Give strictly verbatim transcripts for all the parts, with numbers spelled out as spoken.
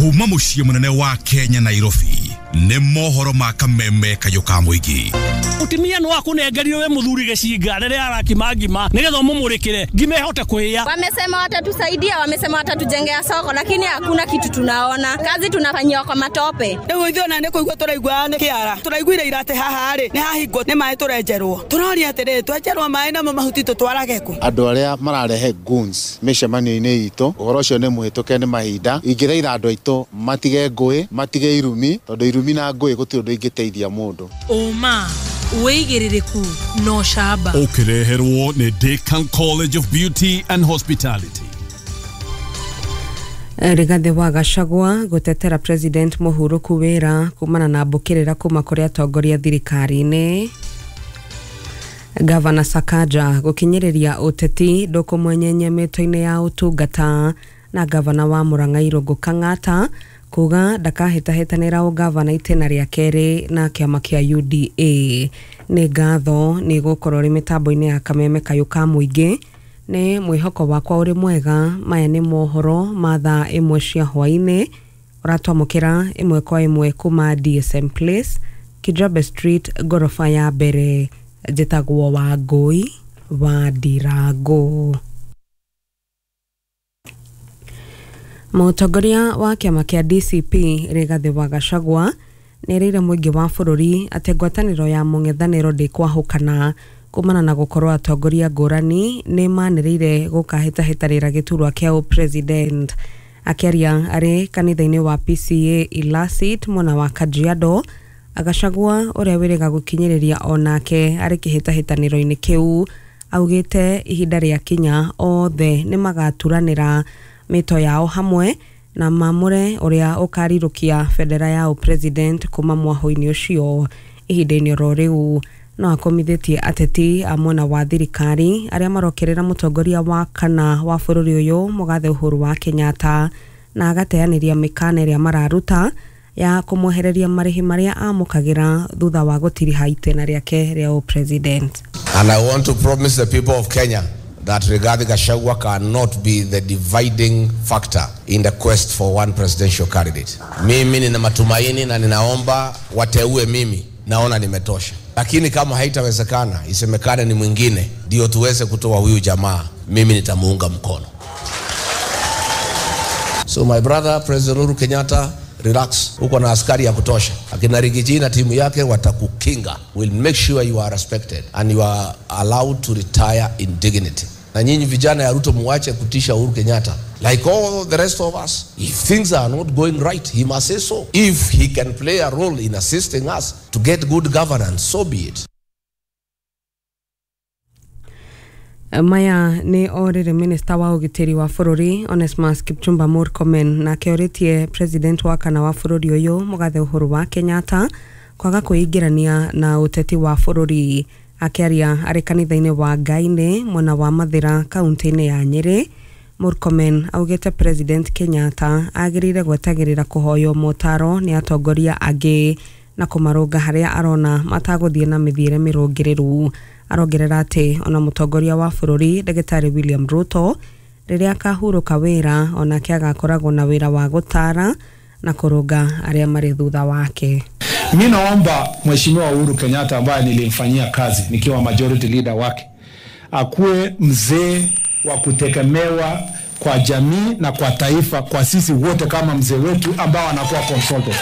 Kuma muciĩ munene wa Kenya Nairobi nĩ mohoro ma kameme kayũ ka mũingĩ. Mutumia no akunengerire we muthuri gicinga riria arakima ngima nigetha umumurikire ngima ihote kuhia. Wamesema watatusaidia, wamesema watatujengea soko, lakini hakuna kitu tunaona. Kazi tunafanyia kwa matope. Riu ithuĩ ona nĩ kũigua tũraigua nĩ kĩara. Tũraiguire ira atĩ haha rĩ nĩ hahingwo nĩ maĩ tũrenjerwo. Tũroria atĩrĩrĩ, twenjerwo maĩ namo mahuti tũtwarage kũ? Andũ arĩa mararehe goons mĩcemanio-inĩ itũ, ũhoro ũcio nĩ mũhĩtũke nĩ mahinda. Ingĩthaitha andũ aitũ matige ngũĩ, matige irumi, tondũ irumi na ngũĩ gũtirĩ ũndũ ingĩteithia mũndũ. Ũma wĩigĩrĩrĩku no camba. Ũkĩreherwo nĩ Decan College of Beauty and Hospitality. Rigathi wa Gachagua gutetera President muhuruku wira kumana na mbukirira kuma kuri atongoria thirikari-ini. Gavana Sakaja gukinyiriria uteti ndukumwenyenye mito-ini ya utungata, na gavana wa Murang'a Irungu Kang'ata kuga ndakahĩtahĩtanĩra ũgavana itĩna rĩa kerĩ na kĩama kĩa U D A. Nĩ ngatho nĩ gũkorwo rĩ mĩtambo-inĩ ya kameme kayũ ka mũingĩ. Nĩ mwĩhoko wakwa ũrĩ mwega. Maya nĩ mohoro ma thaa ĩmwe cia hwaĩ-inĩ, ũratwamũkĩra ĩmwe kwa ĩmwe kuma D S M Place, Kijabe Street, ngoroba ya mbere. Njĩtagwo Wangũi wa Ndirango. Mũtongoria wa kĩama kĩa D C P Rigathi wa Gachagua nĩerĩire mũingĩ wa bũrũri atĩ ngwatanĩro ya mũng'ethanĩro ndĩkwahũkana kumana na gũkorwo atongoria ngũrani nĩ manĩrĩire gũkahĩtahĩtanĩra gĩturwa kĩa ũpresident. Akĩaria arĩ kanitha-inĩ wa P C A Ilasit mwena wa Kajiado, Gachagua ũrĩa wĩrĩga gũkinyĩrĩria onake arĩ kĩhĩtahĩtanĩro-inĩ kĩu augĩte ihinda rĩa kinya othe nĩ magaturanĩra mĩto yao hamwe na mamũre ũrĩa ũkarirũkia bendera ya ũpresident kuma mwahũ-inĩ ũcio. Ihinda-inĩ oro rĩu no akomithĩtie ateti a mwena wa thirikari arĩa marokerera mũtongoria wa kana wa bũrũri ũyũ mũgathe Uhuru wa Kenyatta, na agateanĩria mĩkana ĩrĩa mararuta ya kũmwehereria marĩhi marĩa amũkagĩra thutha wa gũtiriha itĩna rĩake rĩa ũpresident. And I want to promise the people of Kenya that Rigathi Gachagua cannot be the dividing factor in the quest for one presidential candidate. Mimi nina matumaini na ninaomba wateue mimi, naona nimetosha. Lakini kama haitawezekana, isemekane ni mwingine, ndio tuweze kutoa huyu jamaa, mimi nitamuunga mkono. So my brother President Uhuru Kenyatta, relax, uko na askari ya kutosha. Akina Rigiji na timu yake watakukinga. We'll make sure you are respected and you are allowed to retire in dignity. Na nyinyi vijana ya Ruto muache kutisha Uhuru Kenyatta. Like all the rest of us, if things are not going right, he must say so. If he can play a role in assisting us to get good governance, so be it. Maya nĩ orĩrĩ minista wa ũgitĩri wa bũrũri Onesmus Kipchumba Murkomen na kĩorĩtie president wa kana wa bũrũri ũyũ mũgathe Uhuru wa Kenyatta kwaga kwĩingĩrania na ũteti wa bũrũri. Akĩaria arĩ kanitha-inĩ wa Ngainĩ mwena wa Mathĩra kaunti-inĩ ya Nyĩrĩ, Murkomen augĩte President Kenyatta agĩrĩire gwetagĩrĩra kũhoywo motaro nĩ atongoria angĩ na kũmarũnga harĩa arona matagũthiĩ na mĩthiĩre mĩrũngĩrĩru. Arongerera atĩ ona mũtongoria wa bũrũri Ndagĩtarĩ William Ruto rĩrĩa akahurũka wĩra onake agakoragwo na wĩra wa gũtara na kũrũnga arĩa marĩ thutha wake. Mimi naomba Mheshimiwa Uhuru Kenyatta ambaye nilimfanyia kazi nikiwa majority leader wake akuwe mzee wa kutegemewa kwa jamii na kwa taifa, kwa sisi wote kama mzee wetu ambao anakuwa consultant.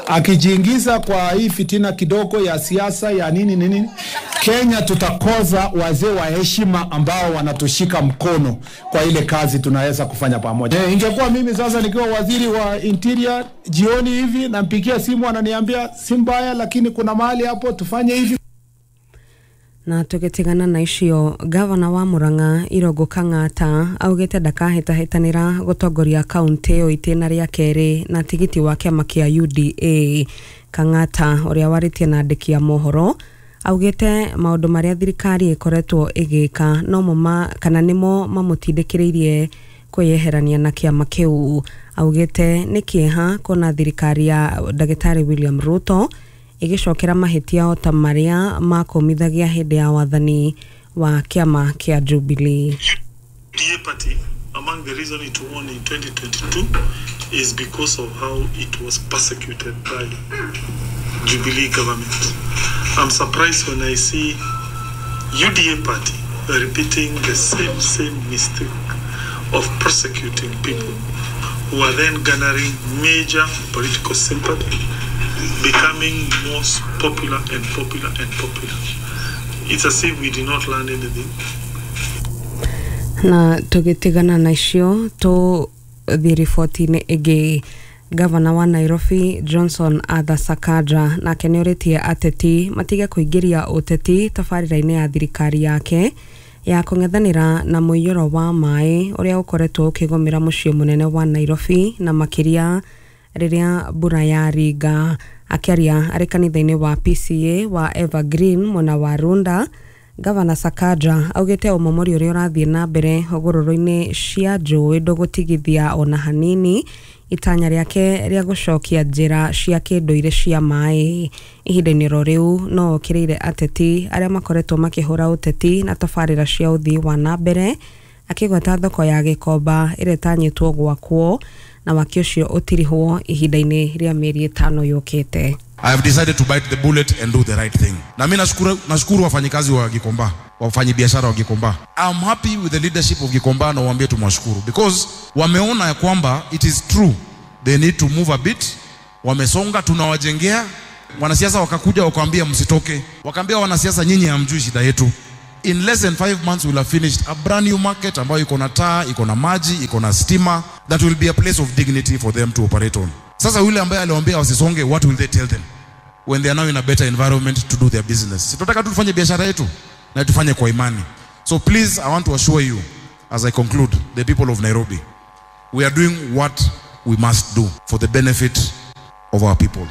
Akijiingiza kwa hii fitina kidogo ya siasa ya nini nini, Kenya tutakoza wazee wa heshima ambao wanatushika mkono kwa ile kazi tunaweza kufanya pamoja. E, ingekuwa mimi sasa nikiwa waziri wa interior jioni hivi nampigia simu ananiambia si mbaya, lakini kuna mahali hapo tufanye hivi. Na tugitigana na icio, gavana wa Murang'a Irungu Kang'ata augĩte ndakahĩtahĩtanĩra gũtongoria kaunti ĩyo itĩna rĩa kerĩ na tigiti wa kĩama kĩa U D A. Kang'ata ũrĩa warĩtie na andĩki a mohoro augĩte maũndũ marĩa thirikari ĩkoretwo ĩgĩka nomo ma kana nĩmo mamũtindĩkĩrĩirie kwĩyeherania na kĩama kĩu. Augĩte nĩ kĩeha kuona thirikari ya Ndagĩtarĩ William Ruto igĩcokera mahĩtia o ta marĩa makũmithagia hĩndĩ ya wathani wa kĩama kĩa Jubilee. U D A party Among the reason it won in twenty twenty-two is because of how it was persecuted by Jubilee government. I'm surprised when I see U D A party repeating the same, same mistake of prosecuting people who are then garnering major political sympathy, becoming most popular and popular and popular. It's as if we did not learn anything. Na tugitigana na icio tu thi riboti-inĩ ĩngĩ. Gavana wa Nairobi Johnson Arthur Sakaja nake nĩorĩtie ateti matige kũingĩria ũteti tabarĩra-inĩ ya thirikari yake ya kũng'ethanĩra na mũiyũro wa maĩ ũrĩa ũkoretwo ũkĩgũmĩra mũciĩ mũnene wa Nairobi na makĩria rĩrĩa mbura yaringa. Akĩaria arĩ kanitha-inĩ wa P C A wa Evergreen mwena wa Runda, Gavana Sakaja augĩte ũmomori ũrĩa ũrathiĩ na mbere hũgũrũrũ-inĩ cia njũĩ ndũgũtigithia ona hanini itanya rĩake rĩa gũcokia njĩra cia kĩndũire cia maĩ. Ihinda-inĩ ro rĩu no okĩrĩire ateti arĩa makoretwo makĩhũra ũteti na tabarĩra cia ũthii wa na mbere, akĩgweta thoko ya Gĩkomba ĩrĩa ĩtanyĩtwo gwakwo na waki ũcio ũtirihwo ihinda-inĩ rĩa mĩeri ĩtano yũkĩte. I have decided to bite the bullet and do the right thing. Na mimi nashukuru, nashukuru wafanyikazi wa Gikomba, wafanyibiashara wa Gikomba. I'm happy with the leadership of Gikomba na waambie tumwashukuru because wameona ya kwamba it is true they need to move a bit. Wamesonga, tunawajengea. Wanasiasa wakakuja wakaambia msitoke. Wakaambia wanasiasa nyinyi hamjui shida yetu. In less than five months we'll have finished a brand new market ambayo iko na taa, iko na maji, iko na stima. That will be a place of dignity for them to operate on. Sasa yule ambaye aliwaambia wasisonge, what will they tell them when they are now in a better environment to do their business? Si tunataka tu tufanye biashara yetu na tufanye kwa imani. So please, I want to assure you as I conclude, the people of Nairobi, we are doing what we must do for the benefit of our people.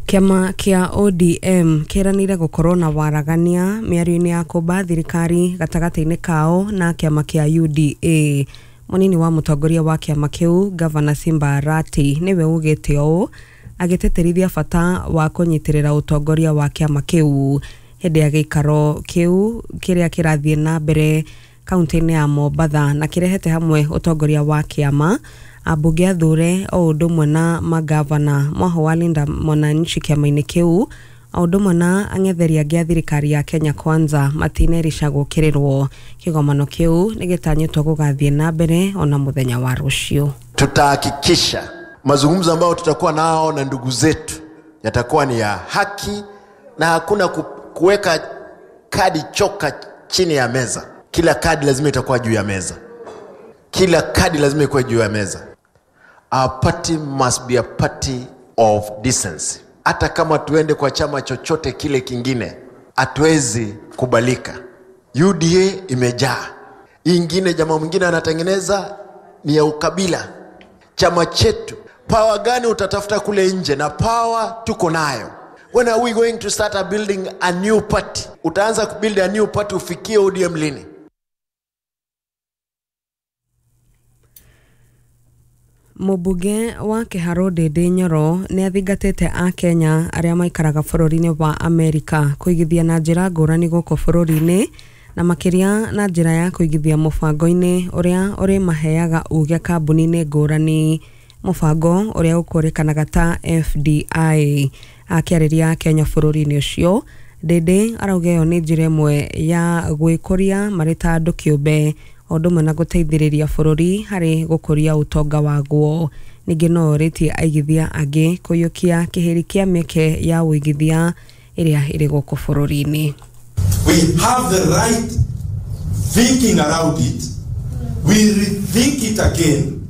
Kĩama kĩa O D M kĩranĩire gũkorwo na waragania mĩario-inĩ ya kũmba thirikari gatagatĩ-inĩ kao na kĩama kĩa U D A. Mũnini wa mũtongoria wa kĩama kĩu Gavana Simba Arati nĩwe ugĩte ũũ agĩtĩtĩrithia bata wa kũnyitĩrĩra ũtongoria wa kĩama kĩu hĩndĩ ya gĩikaro kĩu kĩrĩa kĩrathiĩ na mbere kaunti-inĩ ya Mombatha na kĩrehete hamwe ũtongoria wa kĩama, ambunge athure o ũndũ ũmwe na magavana mwaho wa Linda Mwananchi kĩama-inĩ kĩu o ũndũ ũmwe na ang'etheri angĩ a thirikari ya Kenya Kwanza matinerisha gũkĩrĩrwo. Kĩgomano kĩu nĩgĩtanyĩtwo gũgathiĩ na mbere ona mũthenya wa rũciũ. Tutahakikisha mazungumzo ambayo tutakuwa nao na ndugu zetu yatakuwa ni ya haki na hakuna kuweka kadi choka chini ya meza. Kila kadi lazima itakuwa juu ya meza. Kila kadi lazima ikuwe juu ya meza. Our party must be a party of decency. Hata kama tuende kwa chama chochote kile kingine, hatuwezi kubalika. U D A imejaa. Ingine jamaa mwingine anatengeneza ni ya ukabila. Chama chetu, power gani utatafuta kule nje? Na power tuko nayo. When are we going to start a building a new party? Utaanza kubuild a new party ufikie O D M lini? Mũmbunge wa Kĩharũ Ndĩndĩ Nyoro nĩ athingatĩte Akenya arĩa maikaraga bũrũri-inĩ wa Amerika kũigithia na njĩra ngũrani gũkũ bũrũri-inĩ na makĩria na njĩra ya kũigithia mũbango-inĩ ũrĩa ũrĩmaheaga uge kambuni-inĩ ngũrani, mũbango ũrĩa ũkũrĩkanaga ta F D I. Akĩarĩria Akenya bũrũri-inĩ ũcio, Ndĩndĩ arauga ĩyo nĩ njĩra ĩmwe ya gwĩkũria marĩ ta andũ kĩũmbe o ũndũ ũmwe na gũteithĩrĩria bũrũri harĩ gũkũria ũtonga waguo. Ningĩ no orĩtie aigithia angĩ kũiyũkia kĩhĩri kĩa mĩeke ya ũigithia ĩrĩa ĩrĩ gũkũ bũrũri-inĩ. We have the right thinking around it. We rethink it again.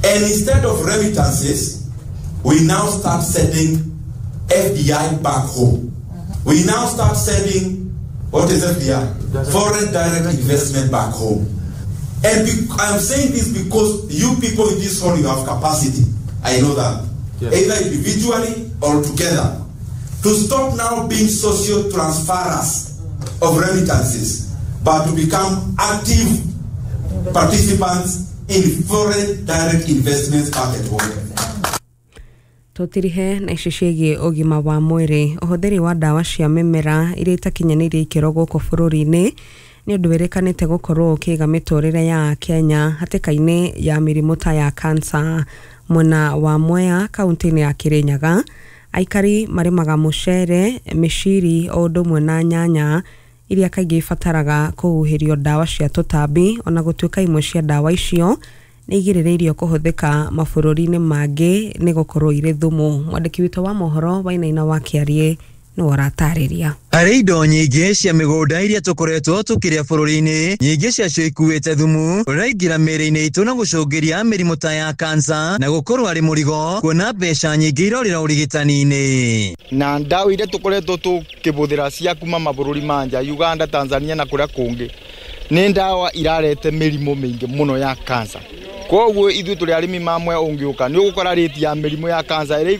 And instead of remittances, we now start sending F D I back home. We now start sending, what is F D I? Foreign direct investment back home. And I'm saying this because you people in this hall, you have capacity. I know that. Yes. Either individually or together. To stop now being social transferers of remittances, but to become active participants in foreign direct investments back at home. Tũtirihe na ici ciĩgiĩ ũgima wa mwĩrĩ. Ũhũthĩri wa ndawa cia mĩmera iria itakinyanĩirie ikĩro gũkũ bũrũri-inĩ Nĩ ũndũ wĩrĩkanĩte gũkorwo ũkĩiga mĩtũrĩre ya Akenya hatĩka-inĩ ya mĩrimũ ta ya kansa. Mwena wa Mwea, kaunti-inĩ ya Kirinyaga, aikari marĩmaga mũcere, mĩciri o ũndũ ũmwe na nyanya iria kaingĩ ibataraga kũhuhĩrio ndawa cia tũtambi, ona gũtuĩka imwe cia ndawa icio nĩ igirĩrĩirio kũhũthĩka mabũrũri-inĩ mangĩ nĩ gũkorwo irĩ thumu. Mwandĩki witũ wa mohoro Wainaina wa Kĩariĩ nĩwe ũratarĩria. Harĩ indo nyingĩ cia mĩgũnda iria tũkoretwo tũkĩrĩa bũrũri-inĩ, nyingĩ ciacio ikuĩte thumu ũraingĩra mĩĩrĩ-inĩ itũ na gũcũngĩria mĩrimũ ta ya kansa na gũkorwo arĩ mũrigo kuona mbeca nyingĩ irorĩra ũrigitani-inĩ. Na ndawa iria tũkoretwo tũkĩbũthĩra cia kuma mabũrũri ma nja, Uganda, Tanzania na kũrĩa kũngĩ, nĩ ndawa irarete mĩrimũ mĩingĩ mũno ya kansa. Koguo ithuĩ tũrĩ arĩmi mamwe, ũngĩũka nĩ ũgũkora rĩti ya mĩrimũ ya kansa ĩrĩ